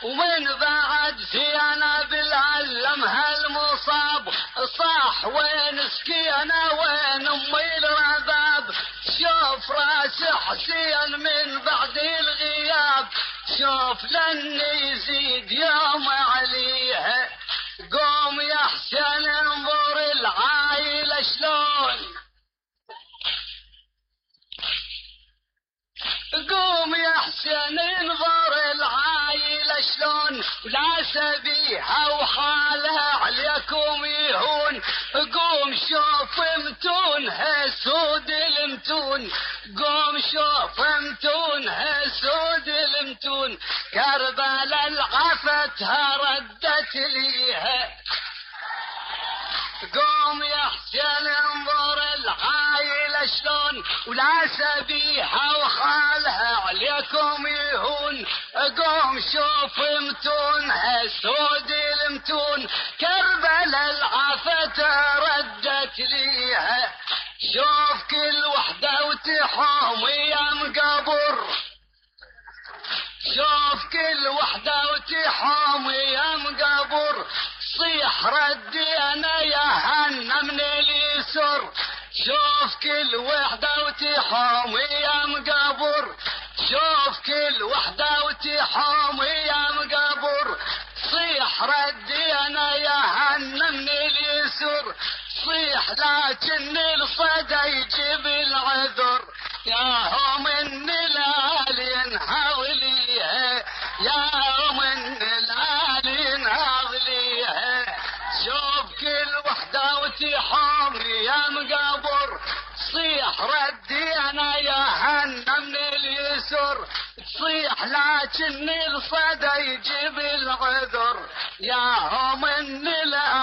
ومن بعد زينة بالعلم هالمصاب صاح وين سكينة وين امي الرباب شوف راس حسين من بعد الغياب شوف لن يزيد يوم عليها قوم يا حسين انظر العايلة شلون قوم يا حسين انظر العايلة شلون لا سبيها وحالها عليكم يهون قوم شوف متونها سود المتون قوم شوف متونها سود المتون كربلاء العفتها ردت ليها قوم يا حسين انظر العايلة شلون ولا سبيها وخالها عليكم يهون قوم شوف متونها سود المتون كربلاء العفت ردت ليها شوف كل وحدة وتحوم يا مقبر شوف كل وحدة وتحوم يا مقبر صيح ردي انا يا هنا من اليسر شوف كل وحدة وتحوم يا مقبر شوف كل وحدة وتحوم يا مقبر صيح ردي انا يا هنا من اليسر صيح لكن الصدى يجيب العذر يا هم النلال ينهض ليها يا هم النلال ينهض ليها شوف كل وحدة وتحوم يا مقبر صيح ردي انا يا هنا من اليسر تصيح لكن الصدى يجيب العذر يا هم النلال